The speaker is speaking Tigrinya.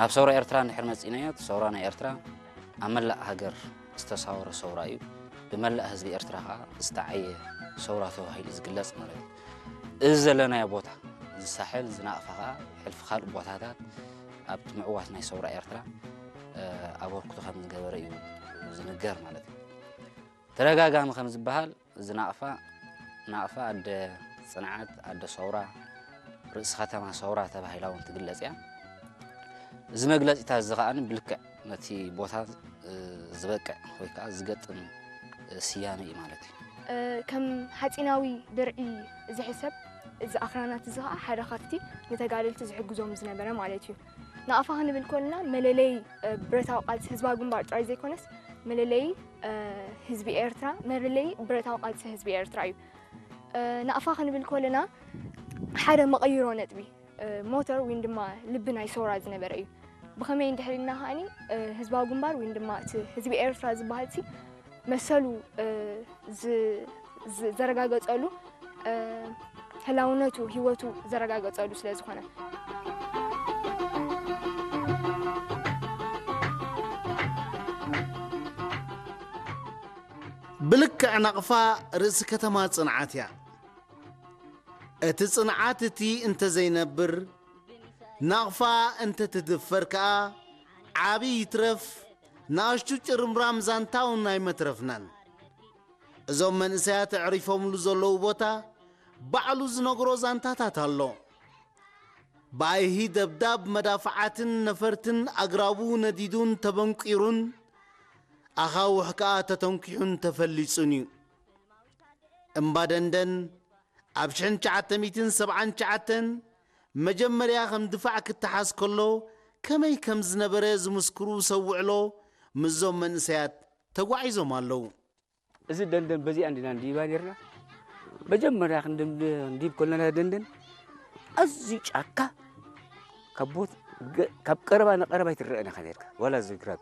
ናብ ሰውራ ኤርትራ እንድሕር መጺእናዮ፣ እቲ ሰውራ ናይ ኤርትራ ኣብ መላእ ሃገር ዝተሳወረ ሰውራ እዩ። ብመላእ ህዝቢ ኤርትራ ከኣ ዝተዓየ ሰውራ ተባሂሉ ዝግለጽ ማለት እዩ። እዚ ዘለናዮ ቦታ፣ እዚ ሳሕል፣ እዚ ናቕፋ ከኣ ሕልፊ ካልእ ቦታታት ኣብቲ ምዕዋት ናይ ሰውራ ኤርትራ፣ እ፣ ኣበርክቶ ከም ዝገበረ እዩ ዝንገር ማለት እዩ። ተደጋጋሚ ከም ዝበሃል፣ እዚ ናቕፋ፣ ናቕፋ ኣደ ጽንዓት፣ ኣደ ሰውራ፣ ርእሲ ከተማ ሰውራ ተባሂላ እውን ትግለጽ እያ። እዚ መግለጺታት እዚ ከኣ ብልክዕ ነቲ ቦታ፣ እ፣ ዝበቅዕ ወይ ከኣ ዝገጥም፣ እ፣ ስያመ እዩ ማለት እዩ። እ፣ ከም ሓጺናዊ ድርዒ ዝሕሰብ እዚ ኣኽራናት እዚ ከኣ ሓደ ካብቲ ንተጋደልቲ ዝሕግዞም ዝነበረ ማለት እዩ። ናቕፋ ክንብል ከለና መለለዪ፣ እ፣ ብረታዊ ቃልሲ ህዝባዊ ግንባር ጥራይ ዘይኮነስ መለለዪ፣ እ፣ ህዝቢ ኤርትራ፣ መለለዪ ብረታዊ ቃልሲ ህዝቢ ኤርትራ እዩ። እ፣ ናቕፋ ክንብል ከለና ሓደ መቐይሮ ነጥቢ፣ እ፣ ሞተር ወይ ድማ ልቢ ናይ ሰውራ ዝነበረ እዩ። ብኸመይ እንድሕር ኢልና ከኣኒ፣ እ፣ ህዝባዊ ግንባር ወይ ድማ እቲ ህዝቢ ኤርትራ ዝበሃል ሲ መሰሉ፣ እ፣ ዝ-፣ ዝ-፣ ዘረጋገጸሉ፣ እ፣ ህላውነቱ፣ ህይወቱ ዘረጋገጸሉ ስለ ዝኾነ። ብልክዕ ናቕፋ ርእሲ ከተማ ጽንዓት እያ። እቲ ጽንዓት እቲ እንተ ዘይነብር፣ ናቕፋ እንተ ትድፈር ከኣ፣ ዓቢ ይትረፍ፣ ንኣሽቱ ጭርምራም ዛንታ እውን ኣይመትረፍናን። እዞም መንእሰያት ኣዕሪፎምሉ ዘለዉ ቦታ፣ ባዕሉ ዝነግሮ ዛንታታት ኣሎ። ብኣይሂ ደብዳብ መዳፍዓትን ነፈርትን ኣግራቡ ነዲዱን ተበንቂሩን፣ ኣኻውሕ ከኣ ተተንኪሑን ተፈሊጹን እዩ። እምባ ደንደን ኣብ ሽሕን ትሽዓተ ሚእትን ሰብዓን ትሽዓተን መጀመርያ ከም ድፋዕ ክተሓዝ ከሎ፣ ከመይ ከም ዝነበረ ዝምስክሩ ሰብ ውዕሎ ምስዞም መንእሰያት ተጓዒዞም ኣለዉ። እዚ ደንደን በዚኣ እንዲና እንዲባ ነርና። መጀመርያ ክንድም-፣ እንዲብ ከለና ደንደን ኣዝዩ ጫካ፣ ካብ ቦት-፣ ገ-፣ ካብ ቀረባ ንቀረባ ኣይትረአን ኢኻ ነርካ፣ ዋላ እዚ ግራብ።